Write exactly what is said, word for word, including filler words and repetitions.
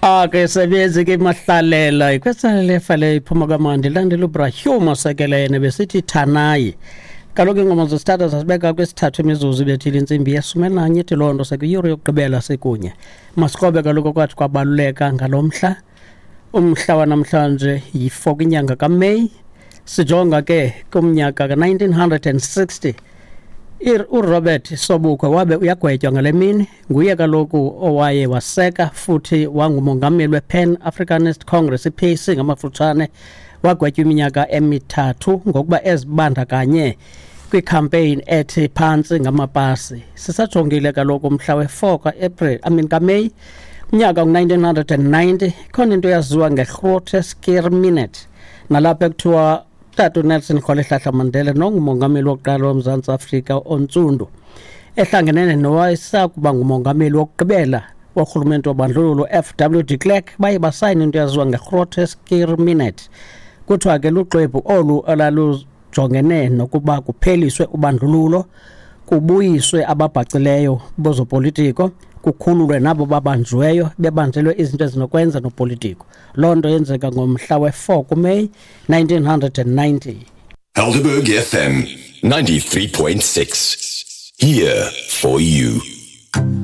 Ake sebenzi ke mahlalela ikwesala lefa le iphuma kamandi landela uBrahim osekelene besithi Thanayi. Kaloku ingoma zesithathu zasibeka kwesithathu imizuzu ibethile intsimbi yeshumi elinanye, ithi loo nto sekuyure yokugqibela sikunye. Masikrobe kaloku kwathi kwabaluleka ngalo mhla. Umhla wanamhlanje yi-four kwinyanga kaMeyi. Sijonga ke kumnyaka ka-nineteen hundred and sixty. URobert Sobukwe wabe uyagwetywa ngale mini. Nguye kaloku owaye waseka futhi wangumongameli wePan Africanist Congress, i-P A C ngamafutshane. Wagwetywa iminyaka emithathu ngokuba ezibandakanye kwicampaign ethi phantsi ngamapasi. Sisajongile kaloku umhla we-four ka-April, I mean kaMeyi, unyaka ngu-nineteen hundred and ninety, ikhona into eyaziwa nge-Groote Schuur Minute, nalapho ekuthiwa Tata uNelson Rolihlahla Mandela nongumongameli wokuqala woMzantsi Afrika ontsundu ehlangenene nowayesakuba ngumongameli wokugqibela worhulumente wobandlululo F W de Klerk baye basayina into eyaziwa nge-Groote Schuur Minute. Kuthiwa ke luxwebhu olu olalujongene nokuba kupheliswe ubandlululo, kubuyiswe ababhacileyo bozopolitiko, kukhululwe nabo babanjiweyo bebanjelwe izinto ezinokwenza nopolitiko. Loo nto yenzeka ngomhla we-four kuMeyi nineteen hundred and ninety. Helderberg F M ninety-three point six. Here for you.